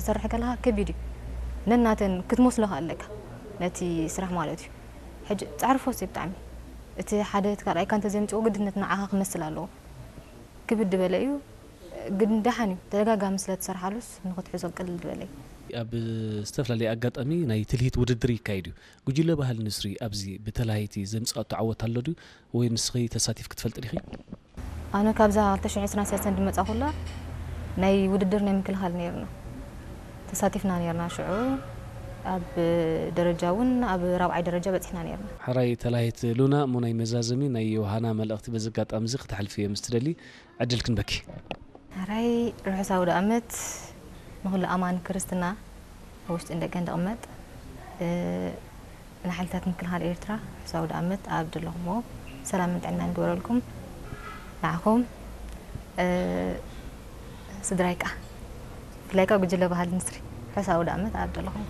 ትሰርሕ ከለኻ ከቢድ እዩ። ነናተን ክትመስሎ ከኣ ኣለካ ነቲ ስራሕ ማለት እዩ። ሕጂ ጻዕሪ ፈውሲ እዩ ብጣዕሚ። እቲ ሓደ እቲ ካልኣይካ እንተዘይምጽኦ ግድነት ንዓኻ ክመስል ኣለዎ። ክብድ ዝበለ እዩ፣ ግን ደሓን እዩ። ተደጋጋሚ ስለ ትሰርሓሉስ ንኽትሕዞ ቅልል ዝበለ እዩ። ኣብ ዝተፈላለየ ኣጋጣሚ ናይ ትልሂት ውድድር ይካየድ እዩ። ጉጅለ ባህሊ ንስሪ ኣብዚ ብተላሃይቲ ዘምጽኣቶ ዓወት ኣሎ ድዩ? ወይ ንስኺ ተሳቲፍኪ ትፈልጢ ዲኺ? ኣነ ካብዛ ክልተ ሽሕን ዕስራን ሰለስተን ድመጻኹላ ናይ ውድድር ናይ ምክልኻል ነይርና። ተሳቲፍና ነይርና ሽዑ። ኣብ ደረጃ እውን ኣብ ራብዓይ ደረጃ በጺሕና ነይርና። ሕራይ ተላሂት ሉና፣ እሞ ናይ መዛዘሚ ናይ ዮሃና መልእኽቲ በዚ ኣጋጣሚ እዚ ክተሕልፊ እየ ምስ ትደሊ ዕድል ክንበኪ። ሕራይ ርሑስ ኣውደ ኣመት ንኹሉ ኣማኒ ክርስትና ኣብ ውሽጥን ደገን ድቕመጥ፣ እ፣ ንሓይልታት ምክልኻል ኤርትራ ርሑስ ኣውደ ኣመት ኣብ ዘለኹምዎ ሰላምን ጥዕናን ይግበረልኩም። ንዓኹም፣ እ፣ ስድራይ ከኣ ብፍላይ ከኣ ጉጅለ ባህሊ ንስሪ ርሑስ ኣውደ ኣመት ኣብ ዘለኹም።